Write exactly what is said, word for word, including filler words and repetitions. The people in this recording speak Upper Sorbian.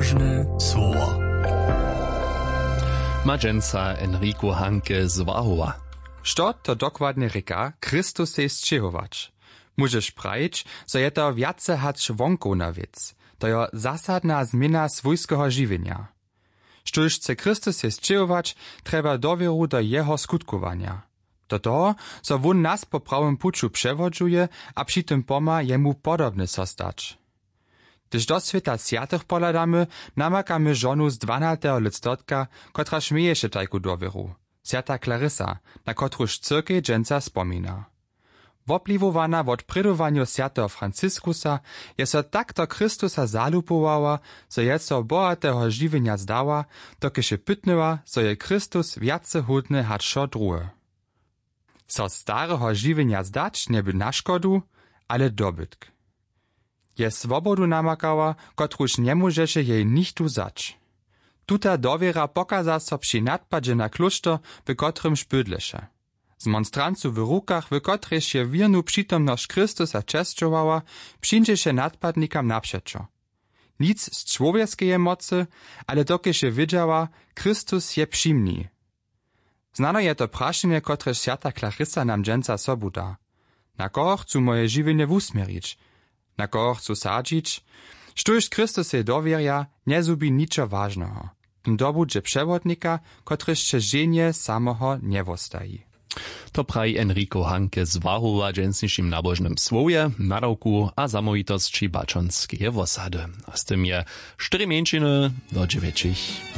Słowo. Ma dźensa Enrico Hanke z Wahowa. Što to dokładnje rěka, Chrystusej sćěhować? Móžeš prajić, zo je to wjace hač wonkowna wěc. To jo zasadna změna swójskeho žiwjenja. Štóž chce Chrystusej sćěhować, trjeba dowěru do jeho skutkowanja, do toho, zo wón nas po prawym puću přewodźuje a při tym pomha jemu podobny so stać. Hdyž do swěta swjatych pohladamy, namakamy žonu z dwanateho lětstotka, kotraž měješe tajku dowěru, swjata Clarissa, na kotruž cyrkej dźensa spomina. Wopliwowana wot prědowanjow swjateho Franciskusa, je so tak do Chrystusa zalubowała, zo je so bohateho žiwjenja zdała, dokelž je pytnyła, zo je Chrystus wjace hódny hač wšo druhe. So stareho žiwjenja zdać njeby na škodu, ale dobytk. Je swobodu namakała, kotruž njemóžeše jej nichtó wzać. Tuta dowěra pokaza so při nadpadźe na klóšter, w kotrymž bydleše. Z monstrancu w rukach, w kotrejž je wěrnu přitomnosć Chrystusa česćowała, přińdźeše nadpadnikam napřećo. Nic z čłowjeskeje mocy, ale dokelž je wědźała, Chrystus je při mni. Znano je to prašenje, kotrež swjata Clarissa nam dźensa sobu da: Na koho chcu moje žiwjenje wusměrić? Na koho chcu sadźić? Štóž Chrystusej dowěrja, njezhubi ničo wažneho. Ten dobudźe přewodnika, kotryž će ženje samoho njewostaji. To praji Enrico Hanke z Wahowa w dźensnišim nabožnym słowje, nadawku a zamołwitosći Baćonskeje wosady. A z tym je štyri mjeńšiny do dźewjećich.